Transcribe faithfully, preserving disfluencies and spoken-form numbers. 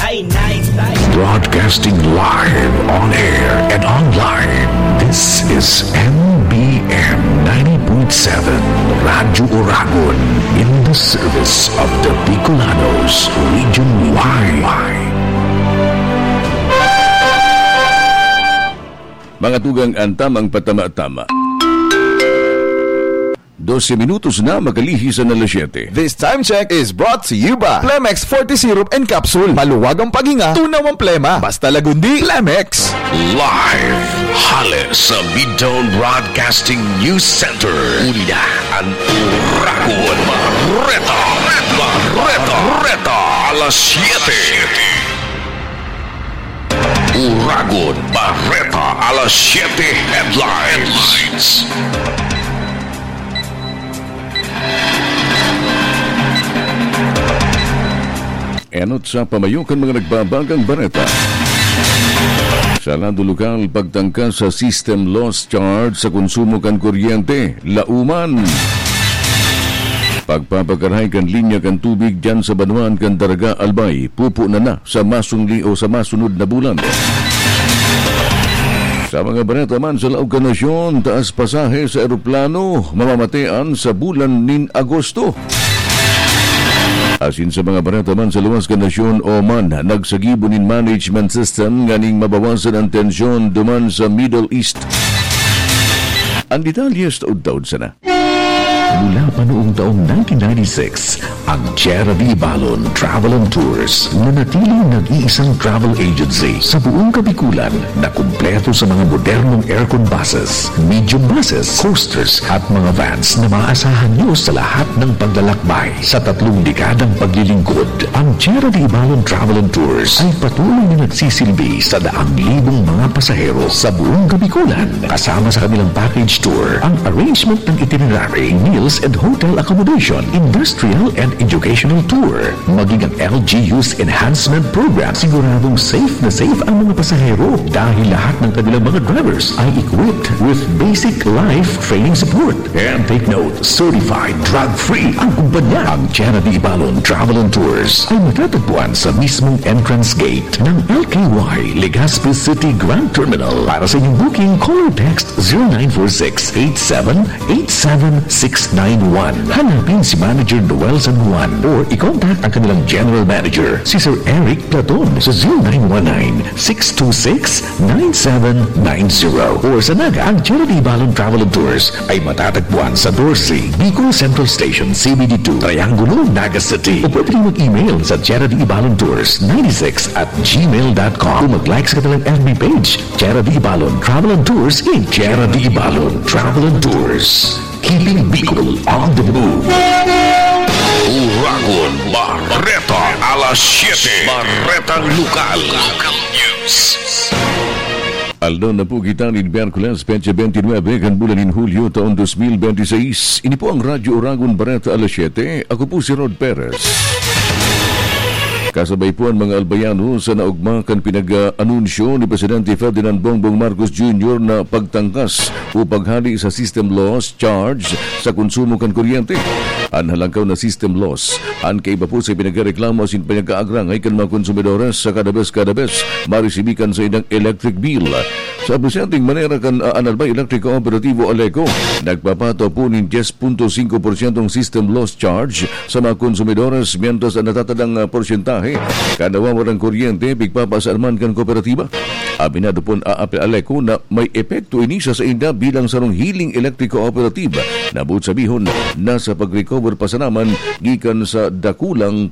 Broadcasting live on air and online. This is M B M ninety point seven Radyo Oragon, in the service of the Bicolanos region wide. Mga tugang, an tamang patama-tama. Dose minutos na makalihis an alas siyete. This time check is brought to you by Plemex forty Syrup and Capsule. Maluwag ang paghinga, tunaw ang plema. Basta Lagundi, Plemex. Live hale sa Midtown Broadcasting News Center. Uli na an Uragon Bareta. Bareta. Bareta. Alas siyete. Uragon Bareta, alas siyete headlines. Enot sa pamayo kan mga nagbabagang bareta. Sa lado lokal, pagtangka sa system loss charge sa konsumo kan kuryente, Lauman. Pagpapakarahay kan linya kan tubig diyan sa banwaan kan Daraga, Albay, pupunan na sa masungli o sa masunod na bulan. Sa mga bareta man sa laog kan nasyon, taas pasahe sa eroplano, mamamatean sa bulan nin Agosto. Asin sa mga bareta man sa luwas kan nasyon, Oman, nagsagibo nin management system nganing mabawasan an tensyon duman sa Middle East. An detalye sa taod-taod sana. Mula pa noong taong nineteen ninety-six, ang Tierra de Ibalon Travel and Tours nanatiling nag-iisang travel agency sa buong Kabikulan na kumpleto sa mga modernong aircon buses, medium buses, coasters at mga vans na maaasahan nyo sa lahat ng paglalakbay. Sa tatlong dekadang paglilingkod, ang Tierra de Ibalon Travel and Tours ay patuloy na nagsisilbi sa daang libong mga pasahero sa buong Kabikulan, kasama sa kanilang package tour, ang arrangement ng itinerary, meals and hotel accommodation, industrial and educational tour, maging ang L G U's enhancement program. Siguradong safe na safe ang mga pasahero dahil lahat ng kanilang mga drivers ay equipped with basic life training support. And take note, certified drug-free ang kumpanya. Ang Tierra de Ibalon Travel and Tours ay matatagpuan sa mismong entrance gate ng L K Y Legazpi City Grand Terminal. Para sa inyong booking, call or text zero nine four six eight seven eight seven six nine one. Hanapin si Manager Noel San Juan or i-contact ang kanilang General Manager, si Sir Eric Platon, sa zero nine one nine six two six nine seven nine zero. Or sa Naga, ang Tierra de Ibalon Travel and Tours ay matatagpuan sa doce, Bicol Central Station, C B D two, Triangulo, Naga City. O pwede rin mag-email sa Tierra de Ibalon Tours ninety-six at gmail dot com. O mag-like sa kanilang F B page, Tierra de Ibalon Travel and Tours in Tierra de Ibalon Travel and Tours. Keeping Bicol on the move. Uragon Bareta, alas siyete. Baretang Lokal. Local News. Aldaw na po kita nin Miyerkules, petsa bente nuebe kan bulan nin Hulyo, taon dos mil bente seis. Ini po ang Radyo Uragon Bareta, alas siyete. Ako po si Rod Perez. Kasabay po ang mga Albayano sa naugma kan pinag-anunsyo ni Presidente Ferdinand Bongbong Marcos Junior na pagtangkas o paghali sa system loss charge sa konsumo kan kuryente. An halangkaw na system loss, an kaiba po sa pinagreklamo asin pinagkaagrangay kan mga konsumidores sa kada bes, kada bes marisibi kan saindang electric bill. Sa presenting manera kan, ah, Albay Electric Cooperativo, ALECO, nagpapataw po nin diyes punto singko porsyentong system loss charge sa mga konsumidores, mientras ang natatadang, ah, porsyentahe kan nawawarang kuryente pigpapasar man kan kooperatiba. Aminado pon an ALECO na may epekto ini sa sainda bilang sarong hiling electric cooperative na, boot sabihon, nasa pag-recover pa sana man gikan sa dakulang